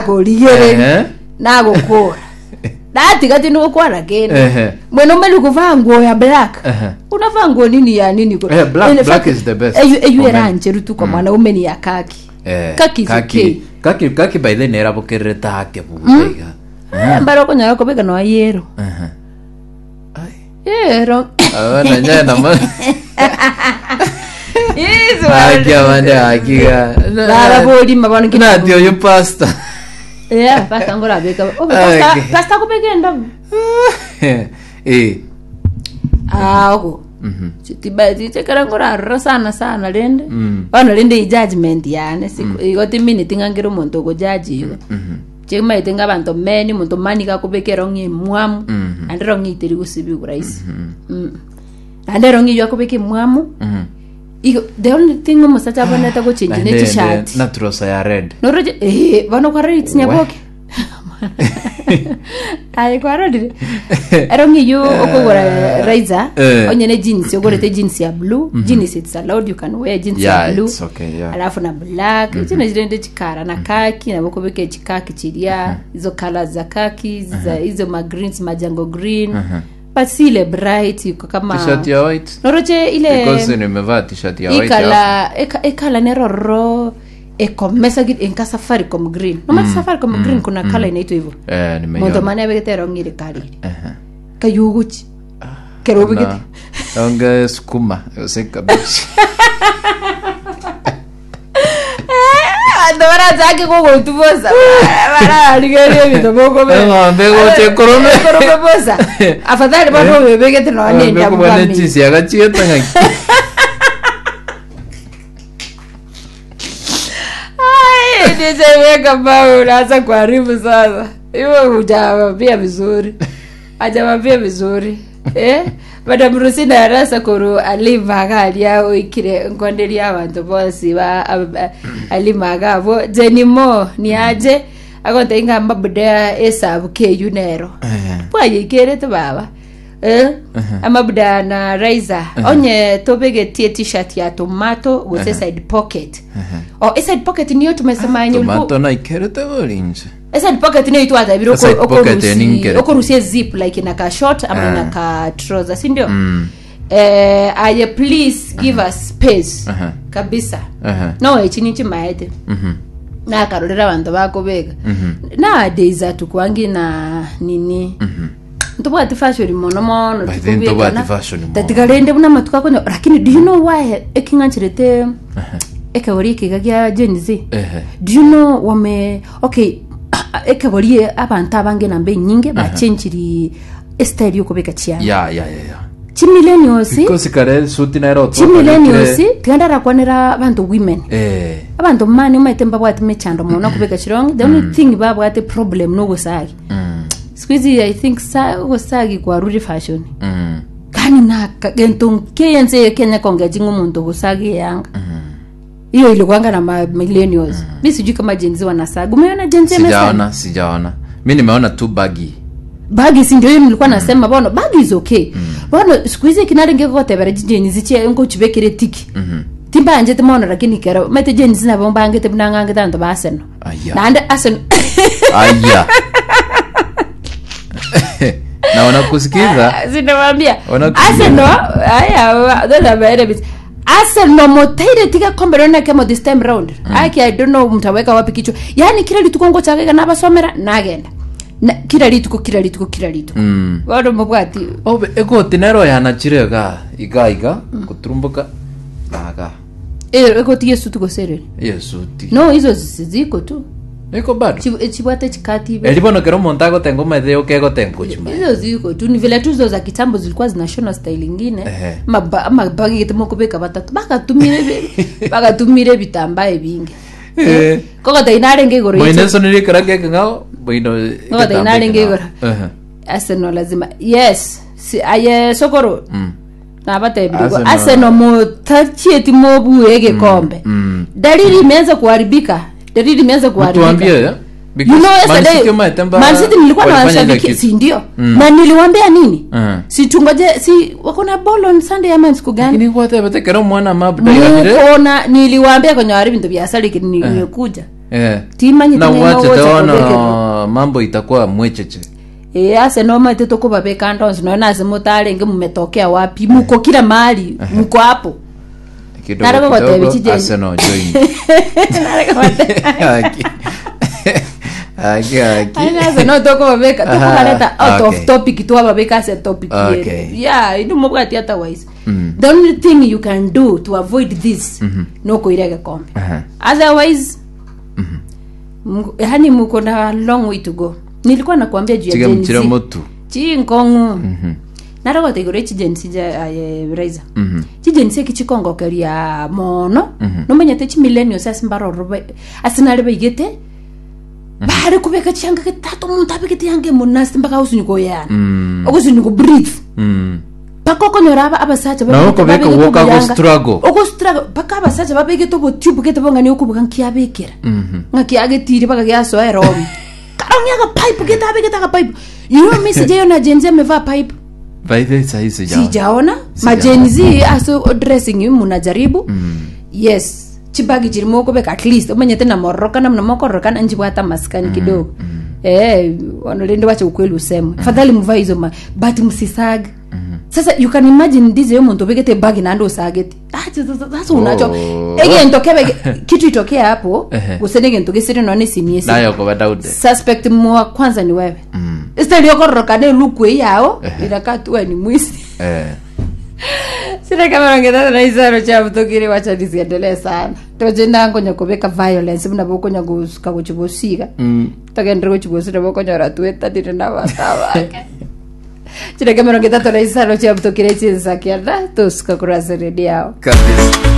Korigereria Ehe. nagokora natiga tindi gokwana kende Ehe. mwanaume ni kuvaa nguo ya black Ehe. unavaa nguo nini ya nini ko- Eh, black- In black fact, is the best eyu eyu for men. erancheru tu kwa mwanaume ni ya kaki Eh, kaki is okay kaki kaki by the nerabokererete ake buya iga Eh, mbaro okonyora kobeka noa yero Ehe. Ai. yero Abana nyana ma Yesu, Aki abande akiga. Baba bolima bono ki- Nati oyo pastor. Yeah, pastor ngorabeka Oh, pastor Okay. pastor akobeka endabu Eh. ago Mhm. tichekera ngorarora sana sana rende Mm. bono rende ejudgment yane siku- igo timineti ng'a nkere omonto ogojaji igo Mhm. chimaete ng'a abanto meni omonto mani gakobeka erong'i emwamu Mhm. naende erong'i teri gosibigwa rahisi Mm. Naende erong'i eyio akobeka emwamu Mhm. igo the only thing omosacha abwenerete gochenji ne Naende- chishati na trosa ya red. noroche eh, bono kwarorire chinyaboke aye kwarorire erong'i eyio okogora raiza Eh. onye ne jeans ogorete jeans ya blue jeans it's allowed you can wear jeans Yeah, ya blue it's okay, yeah. alafu na black mm -hmm. chirende chikara na kaki nabo okobeka echikaki chiria izo colors za kaki za hizo ma greens majango green but si ile bright iko kama T-shirt ya white. noroche ile Because nimevaa t-shirt ya white. hapo. ikala eka- ekala nerororo ekomesa gi- enka safaricom green nomati safaricom green kuna kala inaitwa hivyo Eh, nimeiona. monto mane abegete erong'ire karire Ehe. kayuguchi kero obegete Na- onge sukuma ose cabbage. Abanto barachake kogotubosa bararigeria ebinto bokobe Eng'ombe egocha ekorome. ekorome bosa afadhali bono obebegete nonya Eng'ombe endabu ekobua ne bamenya. chisiaga chiete ng'aki. Ai, nishaiweka bao unaanza kuharibu sasa. Hiyo hujawambia vizuri. Hajawambia vizuri. Eh? Madam Rusina arasa koru alima garia oikire nkonderia abanto bonsi ba ab- alima gabo Jenny Mo ni aje agonte inga mabuda esabu keyu nero. Eh. Bwayekerete baba. Eh? Amabuda na Raiza onye tobegetie t-shirt ya tomato gose side pocket. Oh, e side pocket niyo tumesema yenye ulikuwa Tomato naikerete borinche. E side pocket niyo itwatabire Side pocket ninkerete. okorusia zip like inaka short ama Ah. inaka trouser si ndio? Mm. Eh, aye please give us space Aha. kabisa. Aha. No echi nichimaete. Mhm. Nakarorera abanto bakobeka. Mhm. Nowadays atukwangi na nini ntobwati fashion mono mono By then ntobwati fashion mono. tatiga rende buna amatuko akonya lakini do you know why eking'ancherete ekegori ekiga gia Gen Z Ehe. do you know wame okay ekegori abanto abange namba enyinge bachenchiri estyle yokobeka chianga Ya ya ya ya. chimillennials Because kare suti naero chimillennials tiga ndarakwanera abanto women Eh. abanto mani omanyete mbabwate mechando mono kobeka chirong the only thing babwate problem nogosagi Mm. siku hizi i think sa ogosagi kwarure fashion Mm. kani na gento nkense ye Kenya kongeji ng'omonto gosagi eyanga hiyo ilikuanga na ma millennials mi sijui kama Gen Z wanasaga umeona Gen Z amesaga Sijaona, sijaona. Mi nimeona tu baggy. bagi si ndio hiyo nilikuwa nasema bono bagi is okay bono siku hizi kinarenge gotebera Gen Z che ngochibekere tiki timbanjete mono lakini kero mete Gen Z nabo mbangete buna ng'angete abanto ba Arsenal Aya. naende Arsenal Aya. na wanakusikiza sinawambia Wanakusikiza. Arsenal aya those are my enemies Arsenal motaire tiga kombe rona kemo this time round aki I don't know mtaweka wapi kichwa yani kila rituko ngochagega nabasomera nagenda Na, kila rituko kila rituko kila rituko Mm. bono mobwati Obe egoti nero yanachire iga iga iga kuturumbuka naga eh egoti yesu tugoserere yesuti no hizo zi- ziko tu niko bado Chi- chibwate chikati ibe eri bono kero omonto agotenga omaete yoka egotenga ochima hizo ziko tu ni vile tu hizo za kitambo zilikuwa zinashona style ingine Ehe. ama ama bagete mokobeka batatu bakatumire bi- bakatumire ebitambaa ebinge Eh. kogota inarenge igoro moino yeche- esoneri ekero gekeng'ao moino Ngoja inarenge igoro. Ehe. Arsenal lazima yes si, aye sokoro Mm. nabatebirie Arsenal. Arsenal motachieti mobue egekombe Mm. dalili imeanza kuharibika dalili imeanza kuharibika Mtuambie, eh? Because You know Man yesterday, City umaete mba- Man City nilikuwa walifanya ile nawashabikia kitu. si ndio Mm. na niliwaambia nini Mm. si tungoje si wako na ball on Sunday ama siku gani Lakini gwatebete kero omwana mabda yanire mukona niliwaambia kwenye wari bintu bya sali nimekuja. Eh. Timanyete Na ng'a gwachete ngocha bono kobekerwa. mambo itakuwa mwecheche. Ee, ase nomaete tokobabeka ande onsi nonya nase motarenge mumetokea wapi muko kila mahali muko hapo Kidogo Nare gogotebia kidogo chije- Arsenal join. Nare gogotebia- Aki. Aki aki. Aye nase no tokobabeka Aha, tokobareta out okay. of topic twababeka ase topic Okay. yere yeah indu mobwati otherwise Mm. the only thing you can do to avoid this nokoira egekombe Aha. otherwise yani muko na long way to go nilikuwa nakuambia juu ya Tiga Gen mchira Z. motu. chinkong'u Mhm. narogota igoro echi Gen Z ja aye raiza Mhm. chi Gen Z eki chikongokeria mono nomenyete chi millennials ase mbaroro ase nare baigete bare kobeka chianga getato omonto abegete yanga emonasti mpaka osunywa koyana Mm. ogosunywa ko breathe Mm. mpaka okonyora aba abasacha Na okobeka babegete gwoka obuyanga. go-struggle. Ogo-struggle mpaka abasacha babegete obotube gete bong'ani okobuga nkiabekera Mhm. ng'aki agetire mpaka giasoa eromo karong'ia agapipe gete abegete agapipe you know message eyo na Gen Z amevaa pipe By the way, sahi sijaona. sijaona ma Gen Z ase dressing munajaribu yes chibagi chiri mokobeka at least omanyete namororokana muna mokororokana nchibwate amasikani kidogo eh ono rende wacha ukweli usemwe fadhali muvae hizo ma but msisag sasa you can imagine ndize yo muntu obegete bagi nande osagete Ah, sasa unacho Oh. egento kebe kitu itokea hapo Ehe. gose negento gesire none simiesi Nayo koba Daudi. suspect mwa kwanza ni wewe Mm. Instead yokororokana elukwe yao Ehe. inakaa tu wewe ni mwizi Eh. sina kama ngetata na isaro cha mutokire wacha nisiendelee sana toje nkonya kubeka violence buna bokonya gusuka guchibosiga Mm. togendere guchibosira bokonyora twetanire na bata bake chireke 36 cha mutokire chinsa kianda tusuka kurasa redio yao Kabisa.